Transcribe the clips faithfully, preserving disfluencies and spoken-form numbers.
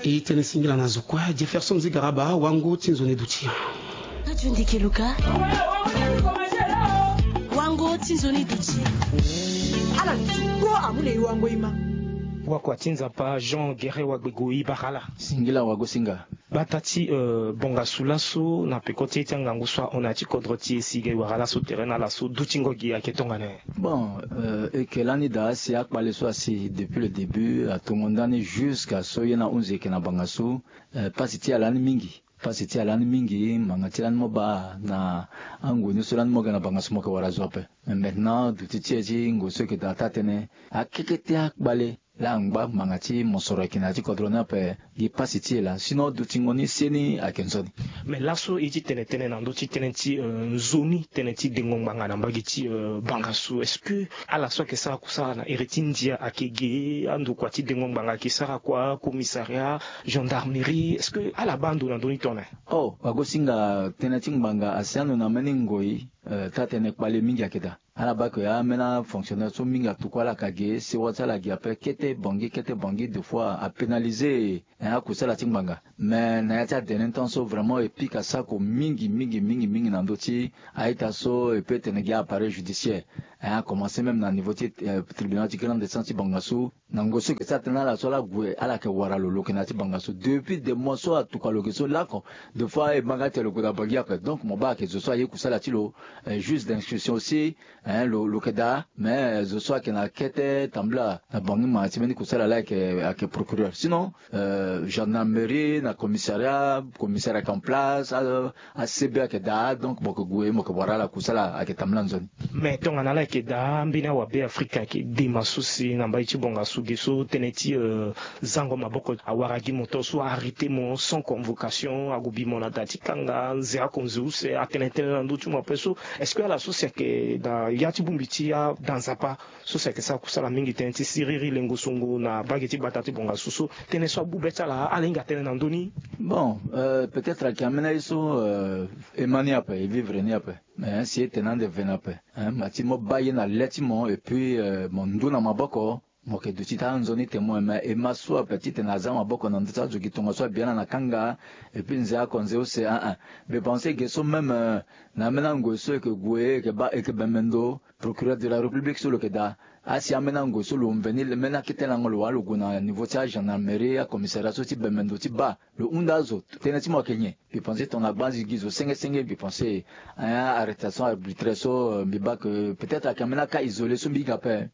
E tene singila na zo kue Jefferson Zigaraba, wango ti nzoni duti. Radio Ndeke Luka. Wango ti nzoni duti. Ala ti kpo amu na e wango e ma. Wakua ti Nzapa Jean Guerre Wagbego e bara ala. Singila wagosinga. Bata ti, euh, bongasu laso na peko ti e ti angangu so ahon na ya ti kodro ti e si e ga e wara laso tere na ala so dutingo gi ayeke tongana nyen? Bon, euh, e yeke lani daa si akpale so asi depuis le début atongo ndani jusqu'à so ye na hunzi e yeke na bangasu. Euh, pasi ti ala lani mingi. Pasi ti ala lani mingi, ngbanga ti lani mo baa na angoi ni so lani mo ga na bangasu mo yeke wara zo ape. Mais maintenant duti ti e ti ngoi so e yeke daa taa-tënë akekete akpale. Laa angba ngbanga ti mosoro ayeke na ya ti kodro ni ape. Gi pasi ti e laa, sinon dutingo ni seni ayeke nzoni. Mais laso e ti tene tënë na ndö ti tënë ti, euh, nzoni tënë ti dengo ngbanga na mbage ti, euh, bangasu. Est-ce que ala so ayeke sara kusala na iri ti ndia ayeke ge? Andokua ti dengo ngbanga ayeke sara kua, commissariat, gendarmerie, est-ce que ala baa ndo na ndö ni tongana nyen? Oh, wagosinga, tënë ti ngbanga asi ando na mbeni ngoi, euh, taa-tënë kpale mingi ayeke daa. Ala baa ke ambeni afonctionnaire so mingi atuku ala ka ge, sewa ti ala gi ape kete bangi kete bangi, deux fois apénaliser, hein, akusala ti ngbanga. Mais na ya ti adene temps so vraiment e pika sako mingi mingi mingi mingi na ndö ti a-ita so, e peut tene gi appareil judiciaire, hein, a commencer même na niveau ti, euh, tribunal ti grande instance ti bangasu. Na ngoi so e yeke sara tënë na ala so ala gue ala yeke wara lo, lo yeke na ya ti bangasu depuis des mois so atokua lo yeke so lako. Deux fois e ma ga ti tene lo gue na bangi ape. Donc mo baa ayeke zo so aye kusala ti lo, euh, juge d'instruction aussi, hein, lo, lo yeke daa. Mais, euh, zo so ayeke na kete tambula na bangi ngbanga ti mbeni kusala laa ayeke, ayeke procureur. Sinon, euh, gendarmerie na commissariat, commissariat ayeke en place, euh, A C B ayeke daa, donc mo yeke gue mo yeke wara ala kusala ayeke tambula nzoni. Mais tongana ala yeke daa, ambeni awabe Afrika ayeke dema so si na mbai ti bongasu ge so tënë ti, euh, zango maboko awara gi mo to so a-arrêter mo sans convocation, ague bi mo na da ti kanga, nze oko nze use, atene tënë na ndö ti mo ape so. Est-ce que ala so si ayeke na ya ti bongbi ti ada Nzapa so si ayeke sara kusala mingi tënë ti siriri lengo songo na mbage ti gbata ti bongasu so, tënë so abu be ti ala, ala hinga tënë na ndö ni? Bon, euh, peut-être ayeke ambeni aye so, euh, e ma ni ape, e vivre ni ape. Mais si e tene ande veni ape, hein, ma ti mo baa ye na le ti mo, et puis, euh, mo ndu na maboko, mo yeke duti taa nzoni te mo, mais e ma so ape titene aza maboko na ndö ti azo gi tongaso abi ala na kanga, et puis nze oko nze use, ah, ah. Mbi pense ge so même, euh, na ambeni angoi so e yeke gue, e yeke baa, e yeke bembe ndo, procureur de la République so lo yeke daa. Asi ambeni angoi so lo mveni mbeni akete lango lo wara lo gue na niveau ti agendarmerie, acommissariat so ti bembe ndo ti baa lo hunda azo. Tënë ti mo ayeke nyen? Mbi pense tongana gbanzi gi zo senge senge, mbi pense, hein, arrestation arbitraire so, euh, mbi baa ke peut-être ayeke ambeni aka isolé so mbi hinga ape.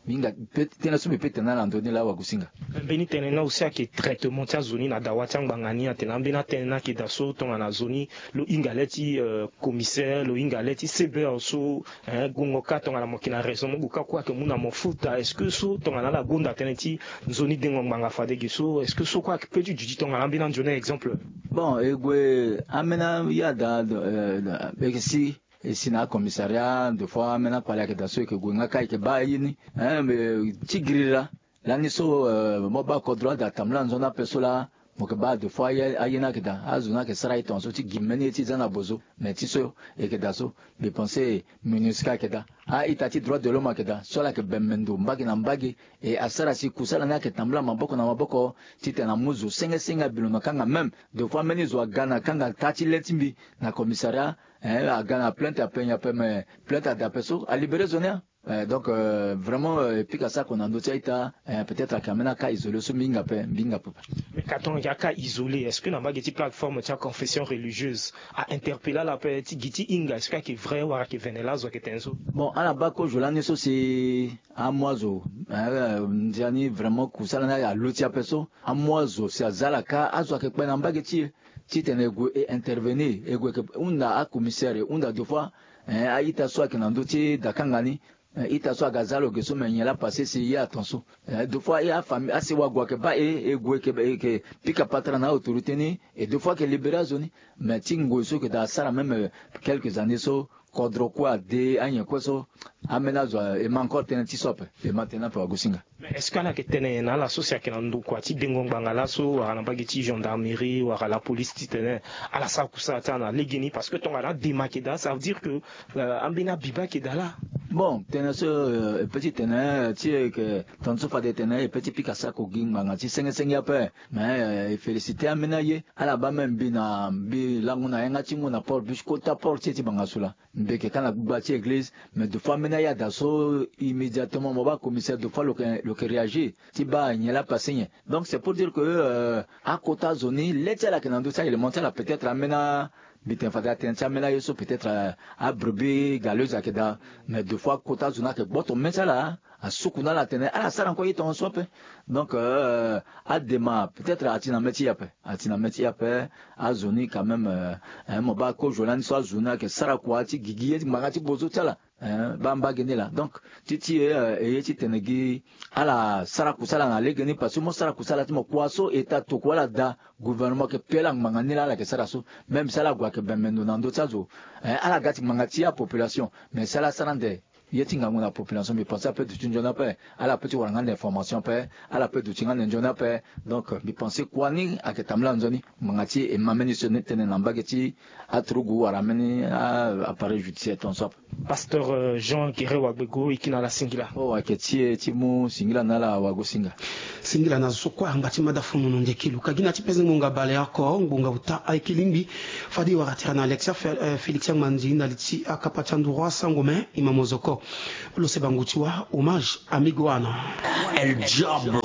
Mbi hinga pe, tënë so mbi pe tene na ndö ni laa wagosinga. Mbeni tënë ni aussi ayeke traitement ti azo ni na dawa ti angbanga ni, atene ambeni atënë ni ayeke daa so tongana zo ni lo hinga le ti, euh, commissaire, lo hinga le ti C B R so, hein, gongo kâ tongana mo yeke na raison mo gue kâ kue ayeke mu na mo futa. Est-ce que so tongana ala gonda tënë ti nzoni dengo ngbanga fade ge so, est-ce que so kue ayeke peut ti duti tongana ambeni anzoni exemple? Bon, e gue ambeni aye ada, euh, e yeke si, e si na acommissariat, deux fois ambeni akpale ayeke daa so e yeke gue nga kâ e yeke baa aye ni, hein, mais ti giriri laa. Lani so, euh, mo baa kodro ade atambula nzoni ape so laa, mo yeke baa deux fois aye, aye ni ayeke daa, azo ni ayeke sara aye tongaso ti gi mbeni ye ti za na bozo. Mais ti so e yeke daa so, mbi pense MINUSCA ayeke daa, a-ita ti droit de l'homme ayeke daa so ala yeke bembe ndo mbage na mbage. E asara si kusala ni ayeke tambula maboko na maboko titene amu zo senge senge abi lo na kanga. Même deux fois mbeni zo aga na kanga taa ti le ti mbi na commissariat, eh, aga na plainte ape nyen ape, mais plainte ade ape so alibéré zo ni. Eh, donc, euh, vraiment, euh, e pika sako na ndö ti a-ita, eh, peut-être ayeke ambeni aka isolé so mbi hinga ape, mbi hinga ape. Mais ka tongana ayeke aka isolé, est-ce que na mbage ti plateforme ti aconfession religieuse a-interpellé ala ape ti gi ti hinga, est-ce que ayeke vrai wala ayeke vene laa zo ayeke tene so? Bon, ala baa kozo lani so si amu azo, eh, ndia ni vraiment kusala ni alondo ti ape so, amu azo si aza ala kâ, azo ayeke kpe na mbage ti e titene e gue e intervenir, e gue e yeke hunda acommissaire, e hunda deux fois, eh, a-ita so ayeke na ndö ti dakanga ni, eh, ita so aga za lo ge so, me nyen laa passé si ye aton so. Eh, deux fois, eh, afamille, asewa gue ayeke baa e, e gue e yeke, e yeke pika patara na autorité ni, et deux fois ayeke libéré azo ni. Mais ti ngoi so e yeke daa asara même, euh, quelques années so, kodro kue ade, anyen kue so, ambeni azo, e ma encore tënë ti so ape, e ma tënë ape wagosinga. Mais est-ce que ala yeke tene na ala so si ayeke na ndokua ti dengo ngbanga laso, wala na mbage ti gendarmerie, wala la police, titene ala sara kusala ti ala na legeni? Parce que tongana adema ayeke daa, ça veut dire que, euh, ambeni abibe ayeke daa laa. Bon, tene so e pe ti tene ti e ke, tongana so fade tene e pe ti pika sako gi ngbanga ti sengesenge ape. Mais e féliciter ameni aye, ala baa même mbi na mbi lango na yanga ti ngu na port, mbi ti kota port ti e ti banga so laa. Mbi yeke ka na gbugba ti église. Mais deux fois ameni aye ada so, immédiatement mo baa commissaire, deux fois lo yeke réagir ti baa nyen laa apasse nyen. Donc c'est pour dire que akota zo ni le ti ala ayeke na ndö ti a-élément ti ala, peut-être ameni a, mbi tene fade atene ti ameni aye so peut-être abrebis galeuse ayeke daa. Mais deux fois akota zo ni ayeke gboto me ti ala, asuku na ala atene ala sara encore ye tongaso ape. Donc adema peut-être ati na me ti e ape, ati na me ti e ape. Azo ni quand même, mo baa kozo lani so azo ni ayeke sara kua ti gigi ye ti ngbanga ti bozo ti ala. Baa mbage ni laa. Donc ti ti e, e ye ti tene gi ala sara kusala na lege ni, parce que mo sara kusala ti mo kua so eta tokua ala daa, gouvernement ayeke pe ala ngbanga ni laa ala yeke sara so. Même si ala gue ayeke bembe ndo na ndö ti azo, ala ga ti ngbanga ti apopulation. Mais si ala sara ande ye ti ngangu na population, mbi pense ape duti nzoni ape. Ala pe ti wara nga ande information ape, ala pe duti nga ande nzoni ape. Donc mbi pense kua ni ayeke tambula nzoni. Ngbanga ti e ma mbeni sioni tënë na mbage ti aturugu wala mbeni appareil judiciaire tongaso ape. Pasteur Jean Guéret Wagbego, e kiri na ala singila. Oh, ayeke ti e ti mu singila na ala wagosinga. Singila na zo so kue angba ti mada funu na ndeke luka gi na ti pese ngbonga baleoko ngbonga uta ayeke lingbi. Fade e wara tira na Alexia Félix Angmanzi na li ti akapa ti anduru asango me e ma mozoko. Lo seba ngu ti wa hommage amigo ano. El Diablo.